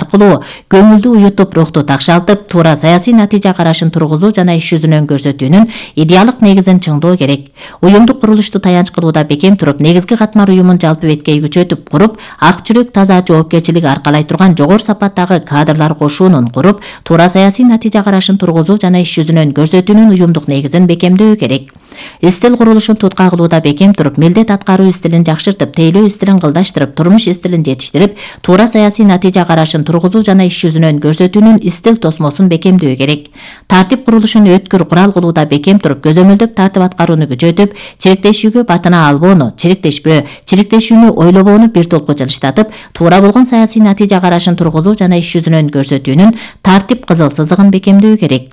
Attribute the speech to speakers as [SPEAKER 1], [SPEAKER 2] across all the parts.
[SPEAKER 1] аркылуу көңүлдү уютуп, рухту такшалтып, туура саясий натыйжа карашын тургузуу жана иш жүзүнөн көрсөтүүнүн идеалдык негизин чыңдоо керек. Уюмдук курулушту таянч кылууда бекем туруп, негизги катмар уюмун жалпы беткей күчөтүп куруп, ак жүрөк, таза, жоопкерчилиги аркалай турган жогору сапаттагы кадрлар кошуунун куруп, туура саясий натыйжа карашын тургузуу жана иш жүзүнөн көрсөтүүнүн уюмдук негизин бекемдөө керек. Истил курулушун tutка кылууда бекем туруп, милдет аткаруу стилин жакшыртып, тейлөө стилин кылдаштырып, турмуш стилин жетиштирип, туура саясий натыйжа карашын тургузуу жана иш жүзүнөн көрсөтүүнүн стил тосмосун бекемдөө керек. Тартип курулушун өткүр курал кылууда бекем туруп, көзөмөлдөп тартип аткарууну күчөтүп, чирикдешүүгө батына албоону, чирикдешүүнү ойлобоону бир толку жылыштатып, туура болгон саясий натыйжа карашын тургузуу жана иш жүзүнөн көрсөтүүнүн тартип кызыл сызыгын бекемдөө керек.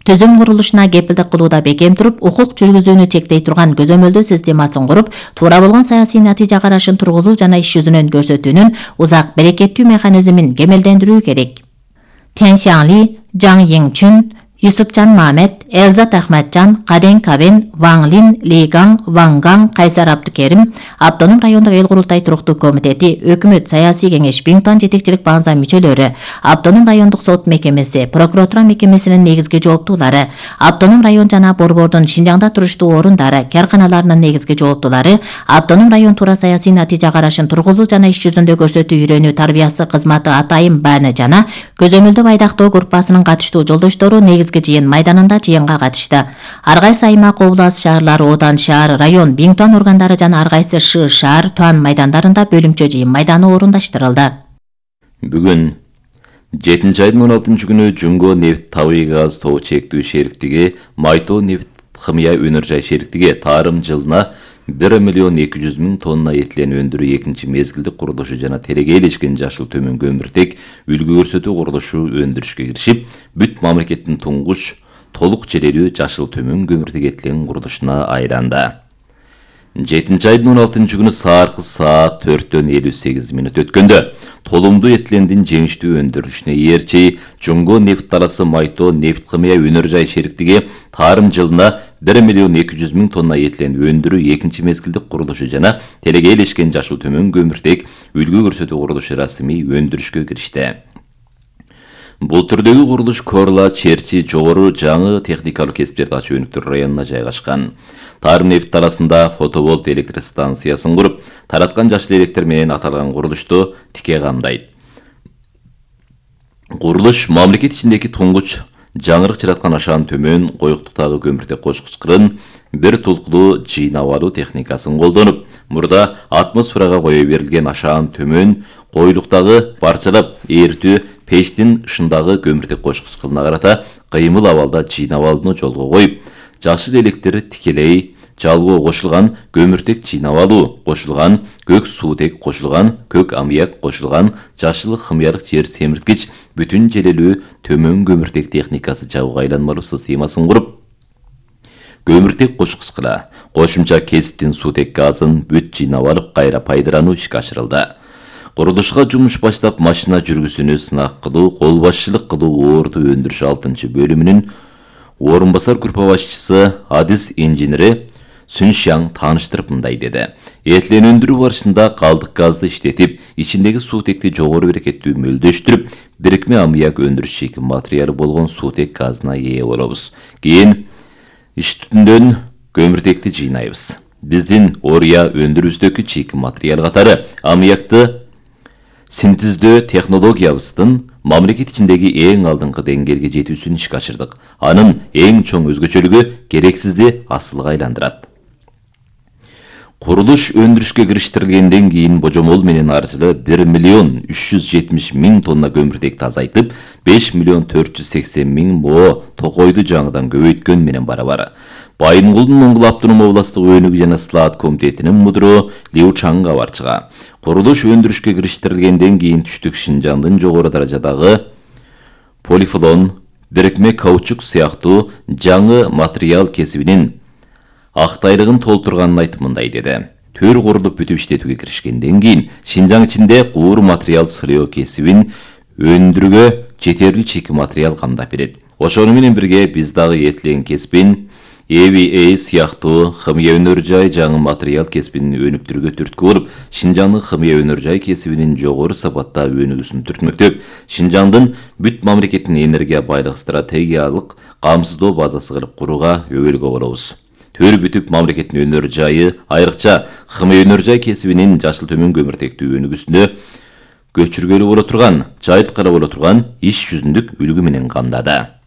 [SPEAKER 1] Түзүм курулушуна кепилдик кылууда бекем туруп, укук жүргүзүүнү чектей турган көзөмөлдөө системасын куруп, туура болгон саясий натыйжа карашын тургузуу жана иш жүзүнөн көрсөтүүнүн узак берекеттүү механизмин кемелдендирүү керек. Тянь Xiangli, Жаң Йиңчүн, Юсупжан Мамед, Элзат Ахматжан, Каден Кабен, Ваң Лин, Ли Гаң, Ваң Гаң, Кайсар Абдукерим, Автоном райондук эл курултай туруктуу комитети, өкмөт саясий кеңеш, Биңтон жетекчилик баңза мүчөлөрү, Автоном райондук сот мекемеси, прокуратура мекемесинин негизги жооптуулары, Автоном район жана Борбордун Шинжаңда туруштуу орундары, карканаларынын негизги жооптуулары, Автоном район туура саясий натыйжа карашын тургузуу жана иш жүзүндө көрсөтүү үйрөнүү тарбиясы кызматы атайын бааны жана көзөмөлдөө айдактоо группасынын катыштуу жолдоштору негизги жыйын майданында жыйынга катышты. Ар кайсы аймак, област, шаарлар, Одан шаар, район, Биңтон органдары жана ар кайсы шаар, Туан майдандарында бөлүмчө жыйын майданы орундаштырылды.
[SPEAKER 2] Бүгүн 7-айдын 16-күнү Жунго нефт табигый газ тобу чектүү шериктиги Майто нефт химия өнөр жай шериктиги тарым жылына 1.200.000 тонна этилен өндүрүү экинчи мезгилдик курулушу жана терегейлешкен жашыл төмөн көмүртек үлгү көрсөтүү курулушу өндүрүшкө киришип, бүт мамлекеттин туңгуч толук жерелүү жашыл төмөн көмүртек этилен курулушуна айланды. 7-айдын 16-күнү сааркы саат 4:58 өткөндө толумдуу этилендин жеңиштүү өндүрүлүшүнө ээрчи Жунго нефт дарасы Майто нефт химия өнөр жай шериктиги тарым жылына 1.200.000 тонна этилен өндүрүү экинчи мезгилдик курулушу жана терегейлешкен жашыл төмөн көмүртек үлгү көрсөтүү курулушу расмий өндүрүшкө киришти. Бул түрдөгү курулуш Корла, Черчи, Жогору жаңы техникалык кесиптерди ачуу өнүктүрүү районуна жайгашкан. Тарым нефт дарасында фотоволт электр станциясын куруп, тараткан жашыл электр менен аталган курулушту тике камдайт. Курулуш мамлекет ичиндеги туңгуч жаңырык жараткан ашаан төмөн коюктуктагы көмүртек кочкучкырын бир тулкулуу жыйнап алуу техникасын колдонуп, мурда атмосферага кое берилген ашаан төмөн коюлуктагы парчалап ээртүү пештин ышындагы көмүртек кочкучкырына карата кыймыл абалда жыйнап алууну жолго коюп, жашыл электр тикелей жалгоо кошулган көмүртек жыйнап алуу кошулган, көк суутек кошулган, көк аммиак кошулган, жашыл химиялык жер семирткич бүтүн желелүү төмөн көмүртек техникасы жабык айланмалуу системасын куруп, көмүртек кочкучкыра кошумча кесиптин суутек газын бүт жыйнап алып кайра пайдалануу ишке ашырылды. Курулушка жумуш баштап машина жүргүсүнө сынак кылуу, кол башчылык кылуу орду өндүрүш 6-бөлүмүнүн орун басар группа башчысы Адис инженери Сүншяң тааныштырып мындай деди. Этилен өндүрүү барышында калдык газды иштетип, ичиндеги суутекти жогору берекеттүү мөлдөштүрүп, бирикме аммиак өндүрүш чийки материалы болгон суутек газына ээ болобуз. Кийин иш түтүндөн көмүртекти жыйнайбыз. Биздин ория өндүрүүбүздөгү чийки материал катары аммиакты синтездөө технологиябыздын мамлекет ичиндеги эң алдыңкы деңгээлге жетүүсүн ишке ашырдык. Анын эң чоң өзгөчөлүгү керексизди асылга айландырат. Курулуш өндүрүшкө кириштирилгенден кийин божомол менен ар жылы 1.370.000 тонна көмүртекти азайтып, 5.480.000 мо токойду жаңыдан көбөйткөн менен барабар. Байынгулдун Оңгул автоном областык өнүгүү жана слаат комитетинин мудуру Лиу Чаң кабарчыга. Курулуш өндүрүшкө кириштирилгенден кийин түштүк Шинжаңдын жогору даражадагы полифлон, бирикме каучук сыяктуу жаңы материал кесибинин актайлыгын толтурганын айтып мындай деди. Төр курулуп бүтүп иштетүүгө киришкенден кийин Шинжаң ичинде куур материал сыроо кесибин өндүрүүгө жетерлүү чийки материал камдап берет. Ошону менен бирге биз дагы этилен кесибин EVA сыяктуу химия өнөр жай жаңы материал кесибин өнүктүрүүгө түрткү болуп, Шинжаңдын химия өнөр жай кесибинин жогору сапатта өнүгүүсүн түртмөктөп, Шинжаңдын бүт мамлекеттин энергия байлык стратегиялык камсыздоо базасы кылып курууга өбөлгө болобуз. Төр бүтүп мамлекеттин өнөр жайы, айрыкча химия өнөр жай кесибинин жашыл төмөн көмүртектүү өнүгүүсүндө көчүргөлүү боло турган, жайылткара боло турган иш жүзүндүк үлгү менен камдады.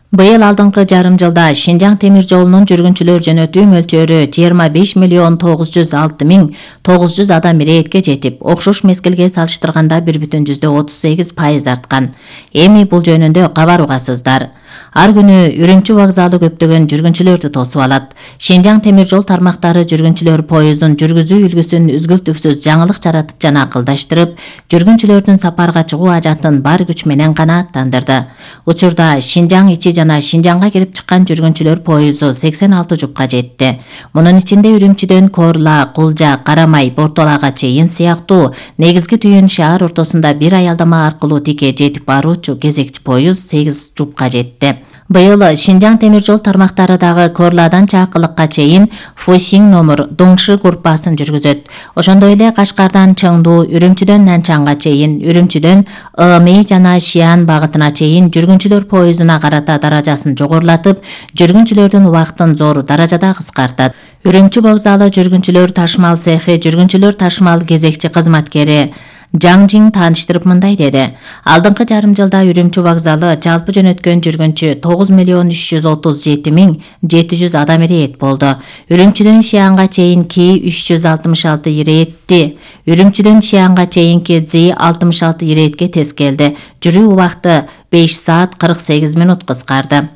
[SPEAKER 1] Быйыл алдыңкы жарым жылда Шинжаң темир жолунун жүргүнчүлөр жөнөтүү мөлчөрү 25.906.900 адам ирээтке жетип, окшош мезгилге салыштырганда 1,38% арткан. Эми бул жөнүндө кабарбасыздар. Ар күнү Үрүмчү вокзалы көптөгөн жүргүнчүлөрдү тосуп алат. Шинжаң темир жол тармактары жүргүнчүлөр поездун жүргүзүү үлгүсүн үзгүлтүксүз жаңылык жаратып жана акылдаштырып, жүргүнчүлөрдүн сапарга чыгуу ажатын бар күч менен канааттандырды. Учурда Шинжаң ичи жана Шинжаңга кирип чыккан жүргүнчүлөр поезду 86 жупка жетти. Мунун ичинде Үрүмчүдөн Корла, Кулжа, Карамай, Бортолага чейин сыяктуу негизги түйүн шаар ортосунда бир аялдама аркылуу тике жетип баруучу кезекчи поезд 8 жупка жетти. Быйыл Шинжаң темир жол тармактары дагы Корладан Чакылыкка чейин Фосиң номер Доңшы группасын жүргүзөт. Ошондой эле Кашкардан Чыңду, Үрүмчүдөн Нанчанга чейин, Үрүмчүдөн Ымей жана Шиан багытына чейин жүргүнчүлөр поездуна карата даражасын жогорулатып, жүргүнчүлөрдүн убактын зор даражада кыскартат. Үрүмчү вокзалы жүргүнчүлөр ташмал цехи жүргүнчүлөр ташмал кезекчи кызматкери Жаңжиң тааныштырып мындай деди. Алдыңкы жарым жылда Үрүмчү вокзалы жалпы жөнөткөн жүргүнчү 9.337.700 адам ирэет болду. Үрүмчүдөн Шианга чейинки 366 ирэетти. Үрүмчүдөн Шианга чейинки Зи 66 ирэетке тез келди. Жүрүү убакыты 5 саат 48 мүнөт кыскарды.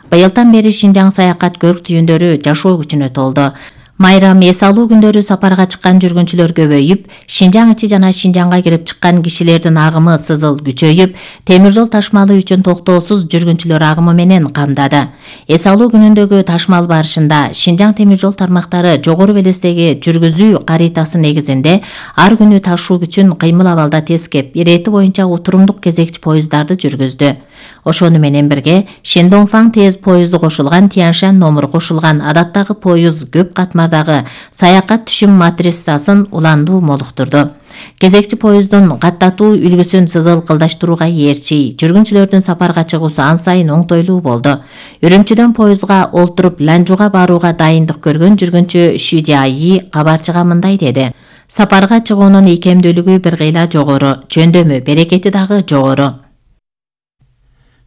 [SPEAKER 1] Быйылдан бери Шинжаң саякат көрк түйүндөрү жашоо күчүнө толду. Майрам эс алуу күндөрү сапарга чыккан жүргүнчүлөр көбөйүп, Шинжаң ичи жана Шинжаңга кирип чыккан кишилердин агымы сызыл күчөйүп, темир жол ташмалы үчүн токтоосуз жүргүнчүлөр агымы менен камдады. Эс алуу күнүндөгү ташмал барышында Шинжаң темир жол тармактары жогору белестеги жүргүзүү каритасы негизинде ар күнү ташуу күчүн кыймыл абалда тескеп, ирэти боюнча отурумдук кезекчи поездарды жүргүздү. Ошону менен бирге Шендоңфаң тез поезду кошулган, Тяншан номер кошулган адаттагы поезд көп катмардагы саякат түшүм матрицасын уландуу молуктурду. Кезекчи поезддун каттатуу үлгүсүн сызыл кылдаштырууга ээрчи, жүргүнчүлөрдүн сапарга чыгуусу ан сайын оңтойлуу болду. Үрүмчүдөн поездга олтуруп Ланжуга барууга дайындык көргөн жүргүнчү Шүжаи кабарчыга мындай деди. Сапарга чыгуунун ийкемдүүлүгү бир кыйла жогору, жөндөмү, берекети дагы жогору.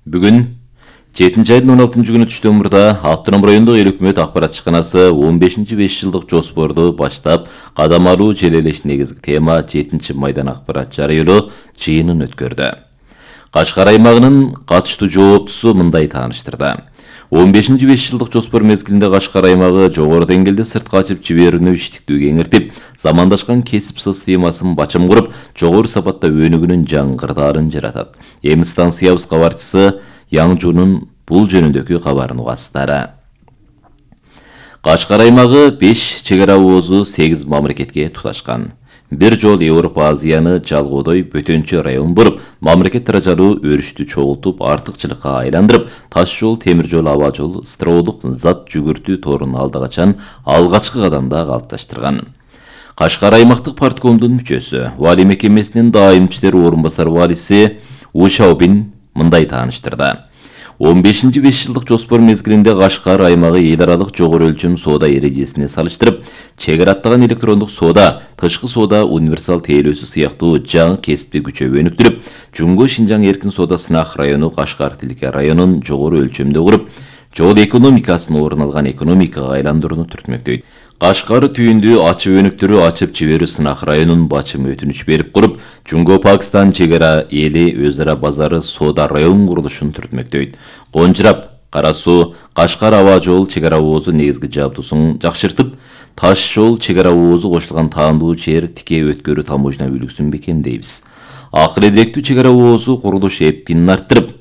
[SPEAKER 2] Бүгүн 7-айдын 16 күнү түштөн мурда Аттырым райондук эл өкмөт акбарат ишканасы 15-5 жылдык жоспорду баштап, кадам алуу желелеш негизги тема 7-майдан акбарат жарыялоо жыйынын өткөрдү. Кашкар аймагынын катыштуу жооптусу мындай тааныштырды. 15-5 жылдык жоспор мезгилинде Кашкар аймагы жогору деңгээлде сыртка ачып жиберүүнү иштиктүү кеңиртип, замандашкан кесип системасын бачым куруп, жогору сапатта өнүгүүнүн жаңгырдаарын жаратат. Эми станциябыз кабарчысы Яңжунун бул жөнүндөгү кабарын угасыздар. Кашкар аймагы 5 чегара оозу 8 мамлекетке туташкан. Бир жол Европа Азияны жалгоодой бөтөнчө район болуп, мамлекет даражалуу өрүштү чогултуп, артыкчылыкка айландырып, таш жол, темир жол, аба жол, строодук зат жүгүртүү торун алда качан алгачкы кадамда калыпташтырган. Кашкар аймактык парткомдун мүчөсү, вали мекемесинин дайым иштери орун басар валиси Ушаубин мындай тааныштырды. 15-5 жылдык жоспор мезгилинде Кашкар аймагы эл аралык жогору өлчөм соода эрежесине салыштырып, чегара аттаган электрондук соода, тышкы соода, универсал тейлөөсү сыяктуу жаңы кесипти күчөп өнүктүрүп, Жумго Шинжаң эркин соода сынак району Кашкар Тилке районун жогору өлчөмдө куруп, жол экономикасын орун алган экономикага айландырууну түртмөктөйт. Кашкар түйүндү ачып өнүктүрүү, ачып жиберүү сынак районун бачым өтүнүч берип куруп, Жумго Пакистан чегара эли өз ара базары соода район курулушун түртмөктөйт. Конжурап, Кара суу, Кашкар аба жол чегара оозу негизги жабдуусун жакшыртып, таш жол чегара оозу кошулган таандуу жер тике өткөрүү таможня үлгүсүн бекемдейбиз. Акыл эдилектүү чегара оозу курулуш эпкинин арттырып,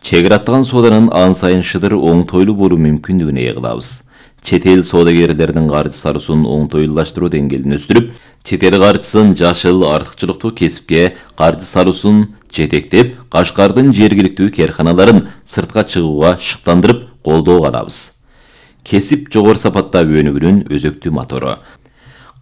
[SPEAKER 2] чегара аттаган сооданын ан сайын шыдыр оңтойлуу болуу мүмкүндүгүн ээ кылабыз. Чет эл соодагерлердин каржы сарысын оңтойлуулаштыруу деңгээлин өстүрүп, чет эл каржысын жашыл артыкчылыктуу кесипке каржы сарысын жетектеп, Кашкардын жергиликтүү керканаларын сыртка чыгууга шыктандырып колдоого алабыз. кесип жогору сапаттагы өнүгүүнүн өзөктүү мотору.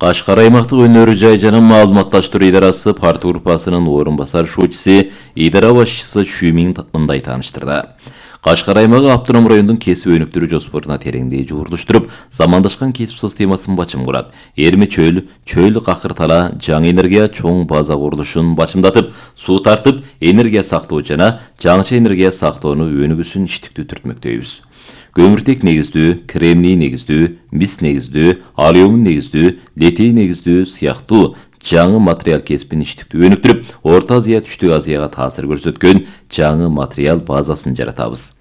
[SPEAKER 2] Кашкар аймактык өнөр жай жана маалыматташтыруу идарасы партия группасынын орун басар шуучусу, идара башчысы Шүмин мындай тааныштырды. Кашкар аймагы автоном райондун кесип өнүктүрүү жоспоруна тереңдей жуурдуштуруп, замандашкан кесип системасын бачым курат. Эрме чөл, чөл какыр тала, жаңы энергия чоң база курулушун бачымдатып, суу тартып, энергия сактоо жана жаңыча энергия сактоону өнүгүүсүн иштиктүү түртмөктөйбүз. Көмүртек негиздүү, кремний негиздүү, мис негиздүү, алюмин негиздүү, литий негиздүү сыяктуу жаңы материал кесипин иштиктүү өнүктүрүп, Орто Азия, Түштүк Азияга таасир көрсөткөн жаңы материал базасын жаратабыз.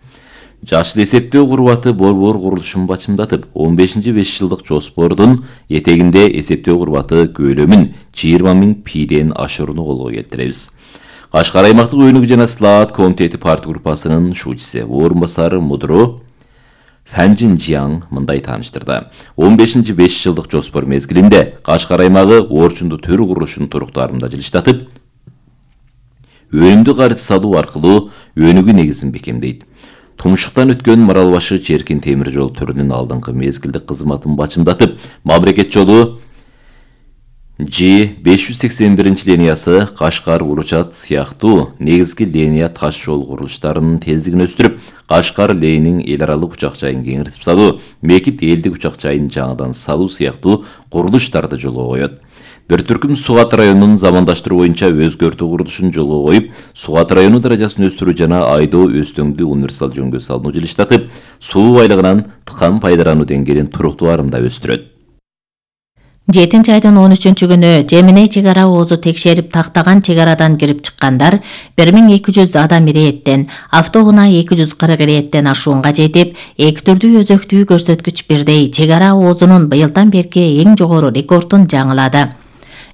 [SPEAKER 2] Жашыл эсептөө курбаты борбор курулушун бачымдатып, 15-5 жылдык жоспордун этегинде эсептөө курбаты көлөмүн 20 000 пиден ашырууну колго келтиребиз. Кашкар аймактык өнүгүү жана слаат комитети партия группасынын шуучусу, орун басары Мудро Фанжин Жиаң мындай тааныштырды. 15-5 жылдык жоспор мезгилинде Кашкар аймагы орчундуу төр курулушун туруктарында жылыштатып, өнүмдүү карыз салуу аркылуу өнүгүү негизин бекемдейт. Тумшуктан өткөн Марал башы Черкин темир жол төрүнүн алдыңкы мезгилдик кызматын бачымдатып, мамлекет жолу G581 линиясы Кашкар Уручат сыяктуу негизги линия таш жол курулуштарынын тездигин өстүрүп, Кашкар Лейнин эл аралык учак жайын кеңиртип салуу, Мекит элдик учак жайын жаңыдан салуу сыяктуу курулуштарды жолго коет. Бир түркүм Сугат районунун замандаштыруу боюнча өзгөртүү курулушун жолго коюп, Сугат району даражасын өстүрүү жана айдоо өстөңдүү универсал жөнгө салууну жылыштатып, суу байлыгынан тыкан пайдарануу деңгээлин туруктуу арымда өстүрөт.
[SPEAKER 1] 7 айдын 13 күнү Жеминей чек ара оозу текшерип тактаган чек арадан кирип чыккандар 1200 адам ирэеттен, автоунаа 240 ирэеттен ашуунга жетип, эки түрдүү өзөктүү көрсөткүч бирдей чек ара оозунун быйылдан берки эң жогору рекордун жаңылады.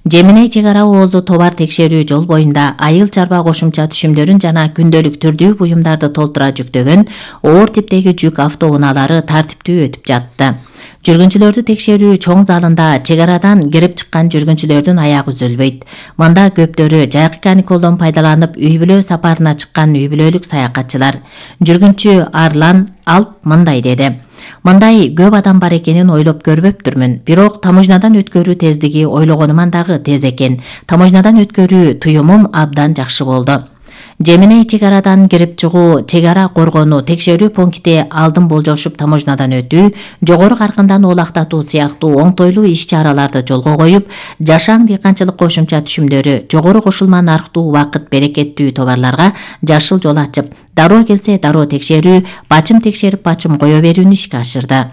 [SPEAKER 1] Жеминей чек ара оозу товар текшерүү жол боюнда айыл чарба кошумча түшүмдөрүн жана күндөлүк түрдүү буюмдарды толтура жүктөгөн оор типтеги жүк автоунаалары тартиптүү өтүп жатты. Жүргүнчүлөрдү текшерүү чоң залында чек арадан кирип чыккан жүргүнчүлөрдүн аягы үзүлбөйт. Мында көптөрү жайкы каникулдон пайдаланып үй бүлө сапарына чыккан үй бүлөлүк саякатчылар. Жүргүнчү Арлан Алп мындай деди. Мындай көп адам бар экенин ойлоп көрбөптүрмүн. Бирок таможнядан өткөрүү тездиги ойлогонуман дагы тез экен. Таможнядан өткөрүү туюмум абдан жакшы болду. Жеминей чек арадан кирип чыгуу, чек ара коргонуу, текшерүү пункти алдын болжошуп таможнядан өтүү, жогору каркындан оолактатуу сыяктуу оңтойлуу иш-чараларды жолго коюп, жашаң дыйканчылык кошумча түшүмдөрү, жогору кошулма нарктуу убакыт берекеттүү товарларга жашыл жол ачып, дароо келсе дароо текшерүү, бачым текшерип бачым кое берүүнү ишке ашырды.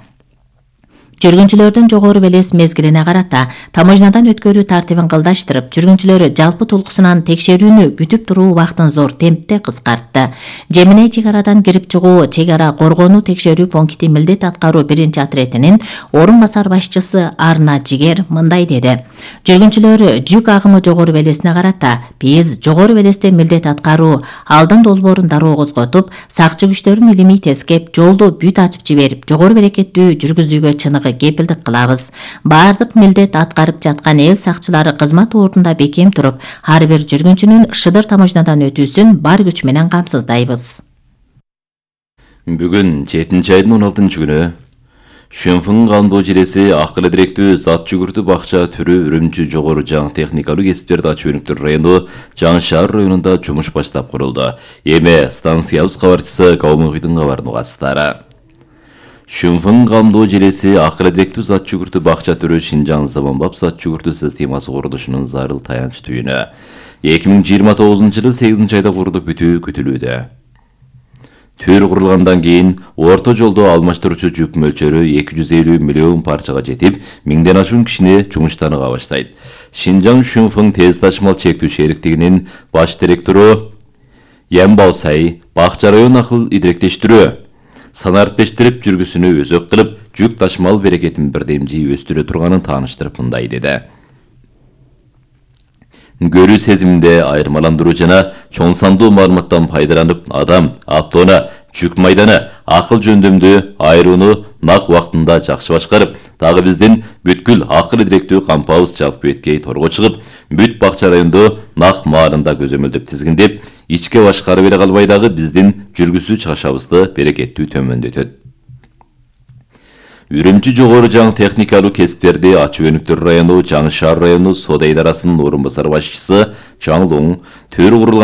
[SPEAKER 1] Жүргүнчүлөрдүн жогору белес мезгилине карата таможнядан өткөрүү тартибин кылдаштырып, жүргүнчүлөр жалпы толкусунан текшерүүнү күтүп туруу убактын зор темпте кыскартты. Жеминей чек арадан кирип чыгуу, чек ара коргонуу текшерүү пункти милдет аткаруу биринчи отрядынын орун басар башчысы Арна Жигер мындай деди. Жүргүнчүлөр жүк агымы жогору белесине карата биз жогору белесте милдет аткаруу, алдын долбоорун дароо козготуп, сакчы күчтөрүн илимий тескеп, жолду бүт ачып жиберип, жогору берекеттүү жүргүзүүгө чыныгы кепилдик кылабыз. Бардык милдет аткарып жаткан эл сакчылары кызмат ордунда бекем туруп, ар бир жүргүнчүнүн шыдыр таможнядан өтүүсүн бар күч менен камсыздайбыз.
[SPEAKER 2] Бүгүн 7 айдын 16 күнү Шөнфүн кандоо желеси акыл директүү зат жүгүртүү бакча түрү Үрүмчү жогору жаңы техникалуу кесиптерди ачуу өнүктүрүү району Жаңы шаар районунда жумуш баштап курулду. Эми станциябыз кабарчысы Каумугуйдун кабарын угасыздар. Шөнфүн кандоо желеси акыл директүү зат жүгүртүү бакча түрү Шинжаң заманбап зат жүгүртүү системасы курулушунун зарыл таянч түйүнү 2029 жылы 8 айда курулуп бүтүү күтүлүүдө. Төр курулгандан кийин орто жолдо алмаштыруучу жүк мөлчөрү 250 миллион парчага жетип, 1000ден ашуун кишини жумуштаныга баштайт. Шинжаң Шөнфүн тез ташымал чектүү шериктигинин баш директору Ямбаусай бакча район акыл идиректештирүү санартпештирип жүргүсүнү өзөк кылып, жүк ташымал берекетин бирдемжи өстүрө турганын тааныштырып мындай деди. Көрүү сезиминде айырмаландыруу жана чоң сандуу маалыматтан пайдаланып, адам, автоунаа, жүк майданы, акыл жөндөмдү айырууну нак убактында жакшы башкарып, дагы биздин бүткүл акыл директүү кампабыз жалпы беткей торго чыгып, бүт бакча райондо нак маалында көзөмөлдөп тизгиндеп, ичке башкарып эле калбай дагы биздин жүргүзүү чыгышыбызды берекеттүү төмөндөтөт. Үрүмчү жогору жаңы техникалуу кесиптерди Ачы Өнүктөр району, Жаңы Шаар району соода идарасынын орун басар башчысы Чаңлуң төр курулган